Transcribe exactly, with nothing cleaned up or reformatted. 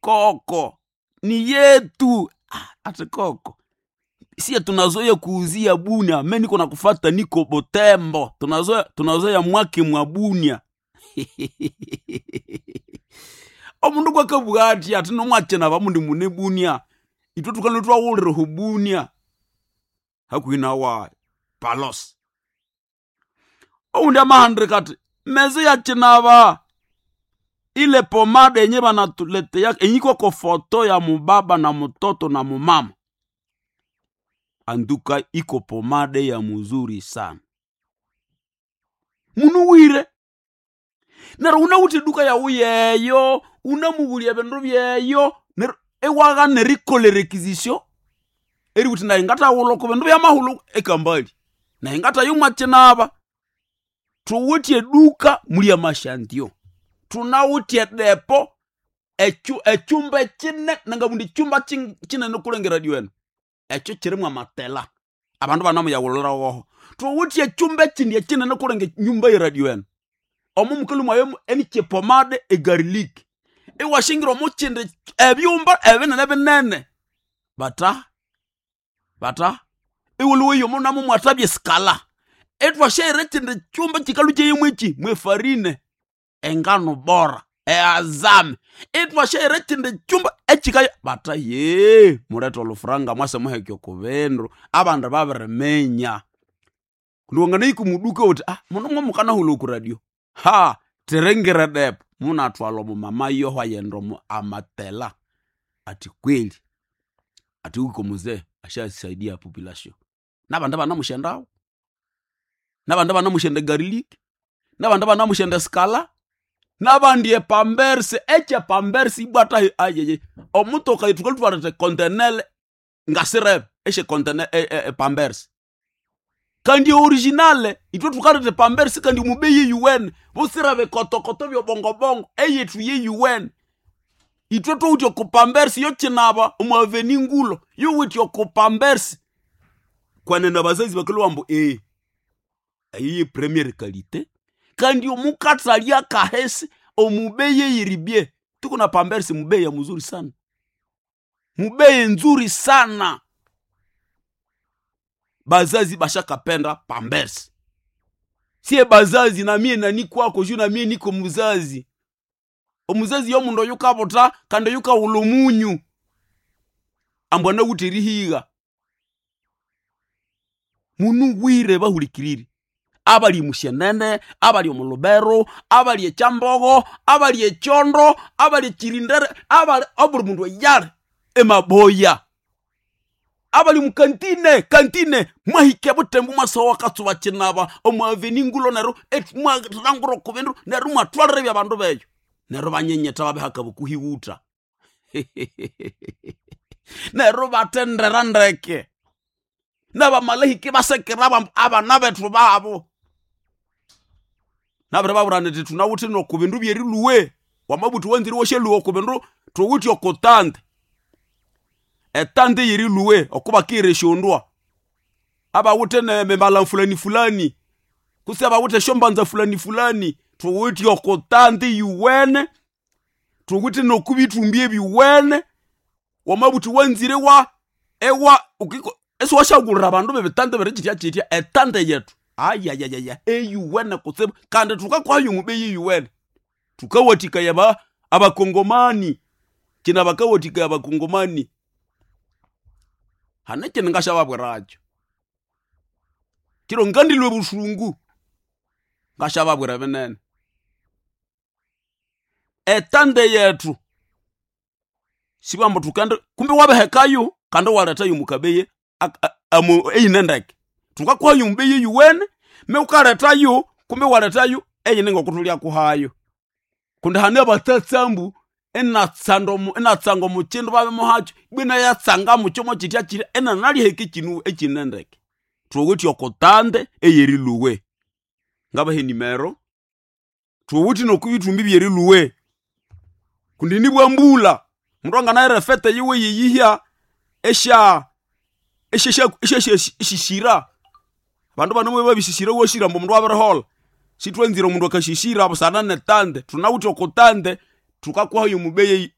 Koko ni yetu. Ah, ati koko siye tunazoya kuuzia Bunia, me niko nakufata niko Butembo, tunazoya tunazoya mwake mwa Bunia. Omundu kwakabugha ati ati nomwakina bamundi mune Bunia, itwe tukalwe twawulira hu Bunia hakuhi nawa Palos. Oundi amahandika ati meze yakinaba ile pomade yenye banatuletea enyiko ko foto ya mubaba na mtoto na mumama anduka iko pomade ya muzuri sana munuwire nero unawuthe duka yawu yeyo unamuwulya bindu byeyo nero ewaghana erikolha erequisition eriwuthi nayi ngathawulha oko bindu byamahulhu ekambali nayi ngatayomwakinaba. Thuwithe eduka muli amashantiyo, thunawithe edepo ekyu ekyumba ekyine nangabundi ekyumba kinene kulengera radio eno ekyo kyirimu amatela abandu banemuyawulirawoho. Thuwithe ekyumba ekyindi ekyinene kulenga enyumba yeradio eno omo mukalhwa mwayo enikyepomade egarlic iwashingira omukyindi ebyumba ebinene binene bata bata iwulhuweyo omo namo mwathabya esikala ithwasyaghira ekyindi kyumba kyikalhwa kyeyemu ekyi mwefarine engano bora eazame ithwasyaghira ekyindi kyumba ekyikaya bata yee mulethe olhufuranga mwase muheke okubindu abandu babiriminya. Kundi wanganahika omuduka wuthi ah muno mwamukanahulha oku radio ha thiringira edepo munathwalha omumama yoho ayenda omu amatela athi kweli athi huko muzee ashasaidia population nabandi banamusyendawo nabandi banamusyenda egarlic nabandi banamusyenda esikala nabandi epambersi ekyepambersi ibwa athahi ayeye omutoka yithu thukalhwa ekontenele ngasirebe esyekontene epambersi kandi originale ithwe thukaleta epambersi kandi omubeyi eyuwene busira bikotokoto byobongobongo eyethu yeyuwene. Ithwe thwawithe oko pambersi yokyinaba omu aveni ngulo yuwithe oko pambersi kwenene abazazi bakalhwa ambu ee eyo ye premiere qualité kandi omukathalya akahesi omubeyi eyiribye. Tuko na pambersi mubeyi ya muzuri sana, mubeyi nzuri sana. Bazazi bashakapenda pambersi. Siye bazazi namie nani kwako juu namie niko muzazi. Omuzazi yomundu oyukabutha kandi oyukawulha omunyu ambu anawithe erihigha. Munuwire bahulikirire abali musyenene, abali omu Lubero, abali ekyambogo, abali ekyondo, abali ekyirindere, abali obuli mundu eyali emaboya abali mukantine kantine mwahika ebutembo mwasowa akatsuba kinaba omu aveni ngulo neryo mwalhangura oko bindu neryo mwathwalira ebyabandu beyo neryo banyenyetha babihaka bukuhiwutha neryo bathendera ndeke nabamalahika ibasekera bambu abana bethu babo nabiribabwira indi thunawithe noko bindu byerilhuwe wamabuthi wanzire iwasyaluwa oko bindu thuwithe oko tante etante yerilhuwe okubakira esyondwa abawithe nemibala fulani fulani kutse abawithe esyombanza fulani fulani thuwithe oko tante yuwene thuwithe nokubithumbi ebyuwene wamabuthi wanzire wa ewa ukiko isiwasyaghulira abandu bebitante biri kyitya kyitya etante yethu ayayayaya eyuwene kutsibu kandi thukakuhayo omubeyi eyuwene. Thukawathikaya aba abakongomani kina bakawathikaya abakongomani hane ekindi ngasyababwirakyo kiro ngandilhwa obusungu ngasyababwira binene. Etante yethu sibwambu thukende kumbi wabihekayo kandi iwalethayo omukabeye eyine ndeke. Thukakuhayo omubeyi eyuwene me wukalethayo kumbi iwalethayo eyine ngokuthulyakuhayo kundi hane abatsatsambu inatsanda inatsanga omukyindu babimuhakyo ibwa inayatsanga mukyo mwakyitya kyirya inanaliheka ekyinu ekyine ndeke. Thuwithe oko tante eyerilhuwe ngabaha enimero thuwithe nokubithumbi byerilhuwe kundi nibwa mbulha omundu anganaghira efete yiwe yeyihya esya esyasisira abandu bano babisisira iwasira ambu omundu abiriholha sithwanzire omundu akasisira busana netante thunawithe oko tante thukakuhayo omubeyi